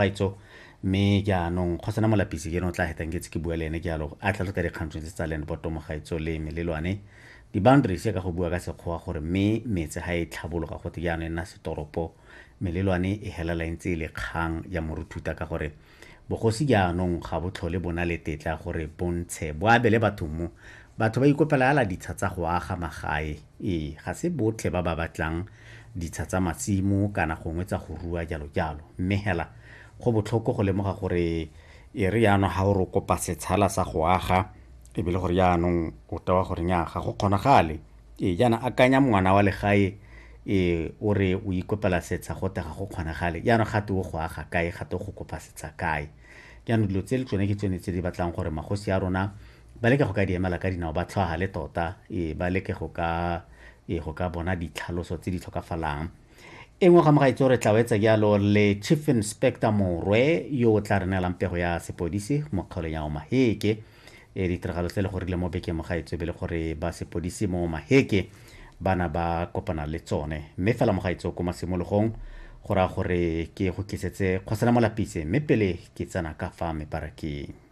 Gaetsho, mme jaanong Kgosana Molapisi ke ene o tla hetang ke tse ke bua le ene jalo a tlhalosa dikgang tse tsa land board mo gaetsho le melelwane, di-boundaries ka go bua ka Sekgowa, gore mme metse ga e tlhabologa gote jaanong e nna setoropo, melelwane e helela e ntse e le kgang ya moruthuta, ka gore bogosi jaanong ga bo tlhole bo na le tetla gore bontshe bo abele batho mo batho ba ikopela ala ditsha tsa go aga magae. Ee, ga se botlhe ba ba batlang ditsha tsa masimo kana gongwe tsa go rua jalo jalo, mme hela go botlhoko go lemoga gore e re jaanong ga o re kopa setshala sa go aga, e be le gore jaanong o tewa gore nya ga go kgonagale. Ee, jaana akanya ngwana wa legae, ee, o re o ikopela setsha, gote ga go kgonagale. Jaanong gate o go aga kae? Gate o go kopa setsha kae? Jaanong dilo tse le tsone ke tsone tse di batlang gore magosi a rona ba leke go ka di emela ka dinao, ba tlhwagale tota, ee, ba leke go ka, ee, go ka bona ditlhaloso tse di tlhokafalang. E nngwe ga mogaetso re tla wetsa jalo le Chief Inspector Morwe yo o tla re neelang pego ya sepodisi mo kgaolong ya Omaheke. E ditiragalo tse le gorile mo bekeng mogaetso e be le gore ba sepodisi mo Omaheke bana ba kopana le tsone. Mme fela mogaetso ko masimologong go raya gore ke go tlisetse Kgosana Molapise, mme pele ke tsena ka fa mebarakeng.